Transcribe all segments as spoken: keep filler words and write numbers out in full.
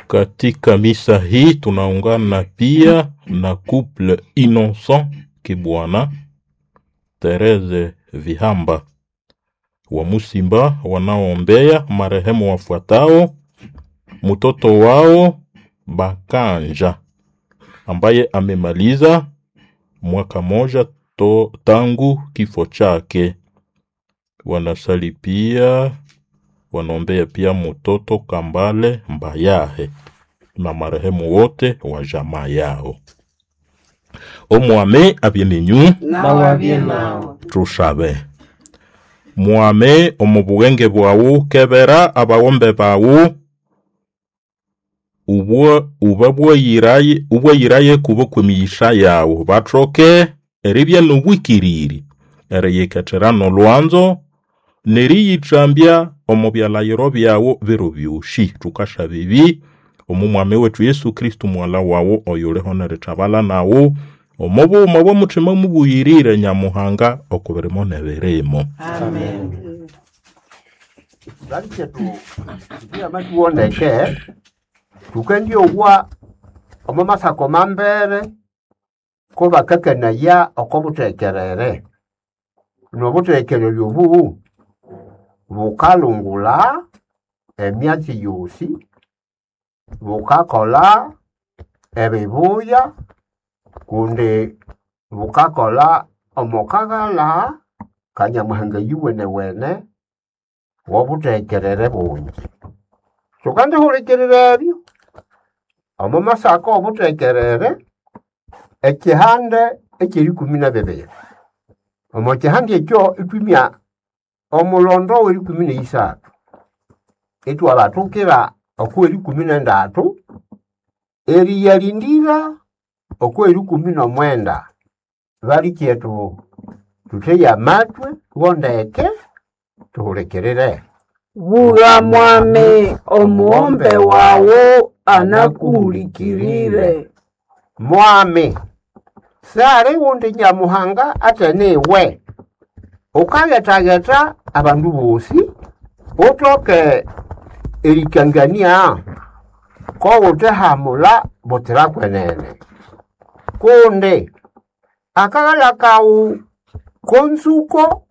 Katika misa hii tunaungana pia na couple Innocent Kibwana, Therese Vihamba wa Musimba wanaoombea marehemu wafuatao: mtoto wao Bakanja ambaye amemaliza mwaka moja to, tangu kifo chake. Wanasali pia wanaombea pia mtoto Kambale Mbayahe na marehemu wote wa jamaa yao. Omwame abye Nawe nawe. Tushabe. Mwame omu bughenge bwawu kebera abawombe bawu ubwo ubabwayiraye ubwayiraye kubo kwemiyisha yawu bathoke eribya nobwikiriri eriyikethera nolwanzo neriyithambya omu byalayiro byawu biro byosi. Thukasaba ebi omu mwami wethu Yesu Kristu mwala wawu oyuliho nerithabala nawu omu bughuma bw'omuthima mubuyirire Nyamuhanga okubirimo n'ebirimo. Amen. Balikyetu tuwondeke tukendyowa omo masako mambere ko bakakanaya oko buthekerere nobuthekerere obu bukalungula emyatsi yosi, bukakolha ebibuya kundi bukakolha omo kaghalha ka Nyamuhanga yuwenewene wobuthekerere bungi. Thukandihulikirira ebyo omo masako obuthekerere ekihande ekyerikumi na bibiri. Omo kihande ekyo ithwimya omulondo werikumi neyisathu ithwabathukira okwerikumi nendathu eriyalindira okwerikumi nomwenda. Balikyethu thutheye amathwi thughondeke thuhulikirire. Bugha mwami omughombe wawu anakuhulikirire. Mwami sali wundi Nyamuhanga athene iwe ukaghethagetha abandu bosi uthoke erikangania kowuthehamula butsira kwenene kundi akaghalha kawu konzuko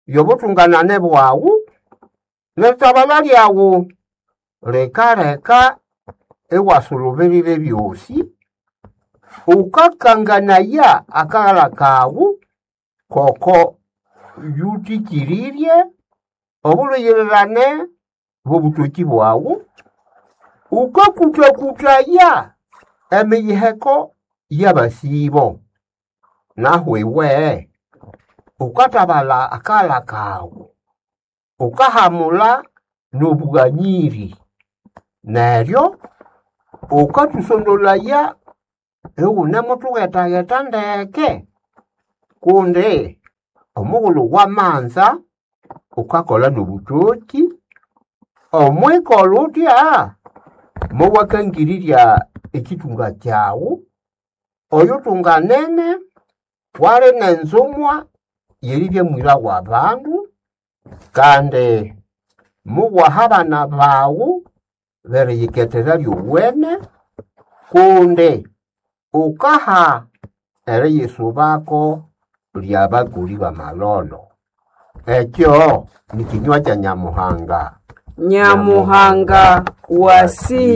yobuthunganane bwawu nerithabalha lyawu likaleka iwasulubirira ebyosi. Ukakanganaya akaghalha kawu koko yuthikirirye obulhuyirirane bw'obuthoki bwawu. Ukakuthakuthaya emiyiheko y'abasibo. Nahu iwe ukathabalha akaghalha kawu ukahamula n'obughanyiri neryo ukathusondolaya ighunimuthughethaghetha ndeke kundi omughulhu wamanza ukakolha n'obuthoki. Omwikolha uthya mowakangirirya ekithunga kyawu oyuthunganene wali n'enzumwa yeribya mwira w'abandu kandi muwaha abana bawu beriyikethera lyowene kundi ukaha eriyisubako lyabakoli b'amalholo. Ekyo nikinywa kya Nyamuhanga. Nyamuhanga wasi